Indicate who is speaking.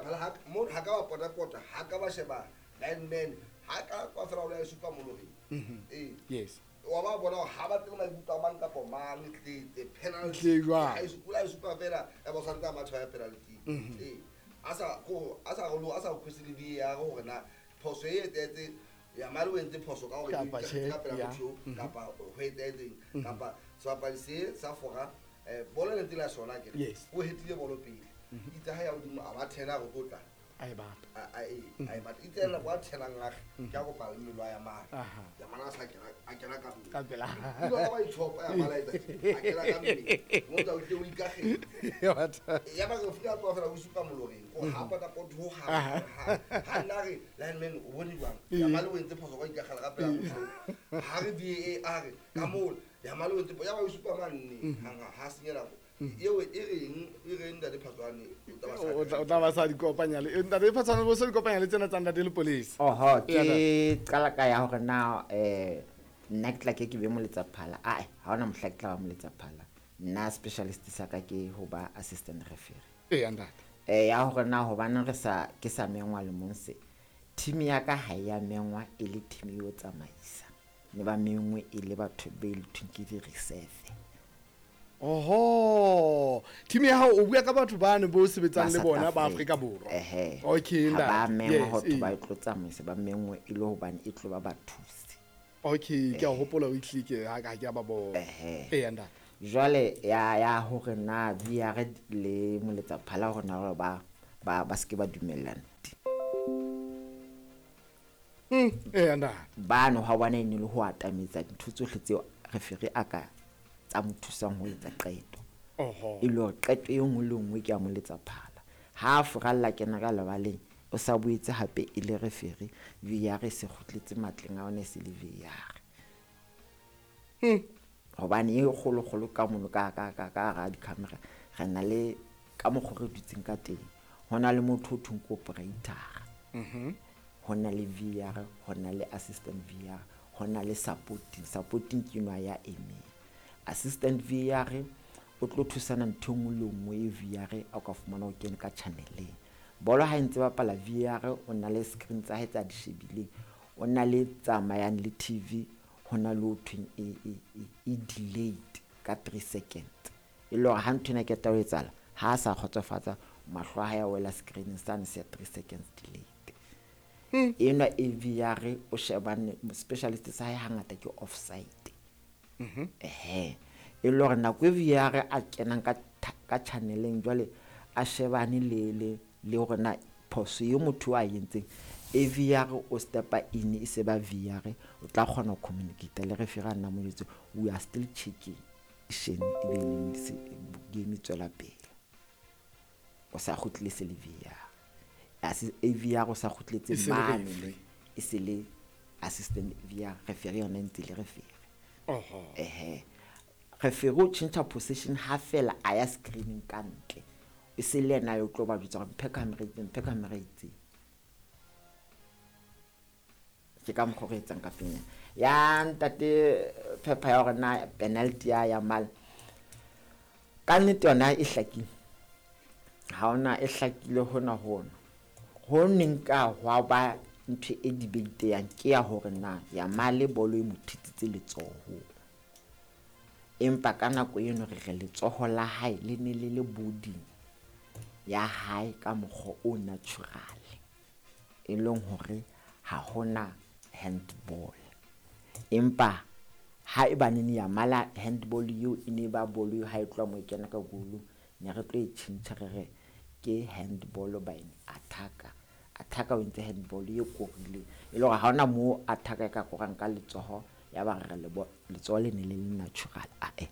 Speaker 1: Phala ha mo ha ka ba pota pota, ha ka ba sheba lineman, ha ka kwa fela o la e supa moloreng. Ee.
Speaker 2: Yes.
Speaker 1: Wa ba bona hore ha ba tsebe maikutlo a mang kapa mang, tletse penalty.
Speaker 2: Tle jwang?
Speaker 1: Ha e o la e supa fela, ya ba o santse a matha ya penalty. Ee, a sa ko a sa go a sa request le VAR hore na phoso e etsahetse ya male, o entse phoso ka hore
Speaker 2: Kapa
Speaker 1: e
Speaker 2: tjhe,
Speaker 1: ka pela motho eo, kapa ho etsahetseng, kapa sebapadi se sa fora bolo e ntse le ya sona akere. O hetile bolo pele, itse ha ya hodimo a ba thena re tlo tla
Speaker 2: A e bata.
Speaker 1: A e batla itse nako a thenang age ke a kopa le mmele wa ya mane. Ya mana a sa kena, a kena ka mmele.
Speaker 2: Ka pela.
Speaker 1: Ile wa ba ithopa ya mala etsa tje, a kena ka mmele mo tsa o tle o ikagele.
Speaker 2: Ya batha.
Speaker 1: Ya ba re fika tloha fela o supa moloreng ko ha pota pot ho ha ha nna re lineman o bone jwang ya male o entse phoso ka ikagela ka pela motho ha re VAR ka moo ya male o entse ya ba o supa manne hang ha senya nako eo e reng e reng ntate Phatswane o tla ba sa
Speaker 2: O tla ba sa di kopanya le ntate Phatswane, bo sa di kopanya le tsena tsa ntate le police.
Speaker 3: Oho,
Speaker 2: Eya,
Speaker 3: ke qala ka ya hore na nna ke tla ke ke be moletsaphala. Ae, ha hona mohla ke tla ba moletsaphala. Nna specialist sa ka ke ho ba assistant referee.
Speaker 2: Eya, ntate.
Speaker 3: Ya hore na hobaneng re sa ke sa mengwa le mong se. Team ya ka ha ya mengwa e le team yo tsamaisa. Ne ba mengwe e le batho be le thweng ke di reserve.
Speaker 2: Oho, team ya hao o bua ka batho bane bo sebetsang
Speaker 3: Ba
Speaker 2: le
Speaker 3: South
Speaker 2: bona ba
Speaker 3: Africa.
Speaker 2: Afrika Borwa.
Speaker 3: Ehe.
Speaker 2: Okay,
Speaker 3: Ha ba
Speaker 2: ntate.
Speaker 3: mengwa ho thwe ba tlo tsamaisa, ba mengwe e le hobane e tlo ba bathusi.
Speaker 2: Okay, ke a hopola o itlile ke ha ka ke a ba bona.
Speaker 3: Ehe.
Speaker 2: Eya, ntate.
Speaker 3: Jwale ya hore na VR le moletsaphala hore na hore ba se ke ba dumellana.
Speaker 2: Eya, ntate.
Speaker 3: Bano ha bona e ne le ho atametsa dintho tsohle tseo referee a ka tsa mo thusang ho etsa qeto. E le hore qeto e nngwe le nngwe ke ya moletsaphala. Ha a furalla kena ka lebaleng, o sa boetse hape e le referee, VAR e se kgutletse matleng a yona e se le VAR. Hobane e kgolo-kgolo ka mono ka hara di-camera, re na le ka mokgwa re dutseng ka teng. Ho na le motho o thweng ke operator. Ho na le VAR, ho na le assistant VAR, ho na le supporting. Supporting ke enwa ya emeng. Assistant VAR o tlo thusana ntho e nngwe le nngwe e VAR a ka fumana o kene ka channel-eng. Bolo ha e ntse bapala VAR o na le screen tsa hae tsa di shebileng, o na le tsamayang le TV, ho na le ho thweng e delayed ka 3 seconds. E le hore ha ntho ena e qeta ho etsahala, ha a sa kgotsofatsa, mahlo a hae a wela screen-eng sane se ya 3 seconds delayed. Enwa e VAR o shebane specialist sa hae hangata ke offside. Ehe. E le hore nako e VAR a kenang ka channel-eng jwale a shebane le hore na phoso e motho a entseng, e VAR o stepa in e se ba VAR o tla kgona ho communicate le referee a nna mo jwetse, we are still checking. Shene e be le se, game e tswela pele. O sa kgutlile se le VAR. E VAR o sa kgutletse
Speaker 2: E se le
Speaker 3: mane.
Speaker 2: referee.
Speaker 3: E se le assistant VAR, referee yona e ntse le referee.
Speaker 2: Oho.
Speaker 3: Ehe. Referee o tjhentjha position ha fela a ya screening ka ntle. E se le yena yo tlo ba jwetsa hore mphe camera itseng, mphe camera itseng. Ke ka mokgwa o re etsang ka teng. Ya ntate Phepha ya hore na penalty ya Mal. Ka nnete yona e hlakile. Ha hona e hlakile hona hona. Ho neng ka hwa ba ntho e debate yang ke ya hore na ya Male bolo e mo thetsitse letsoho. Empa ka nako eno re re letsoho la hae le ne le le body ya hae ka mokgwa o natural, e leng hore ha hona handball. Empa ha e ba nene ya mala handball eo e ne ba bolo eo ha e tloha moo e kena ka goal, ne re tlo e tjhentjha re re ke handball by an attacker. Attacker o entse handball e korileng, e le hore ha hona moo attacker e ka korang ka letsoho, ya ba re letsoho le ne le le natural. Ae,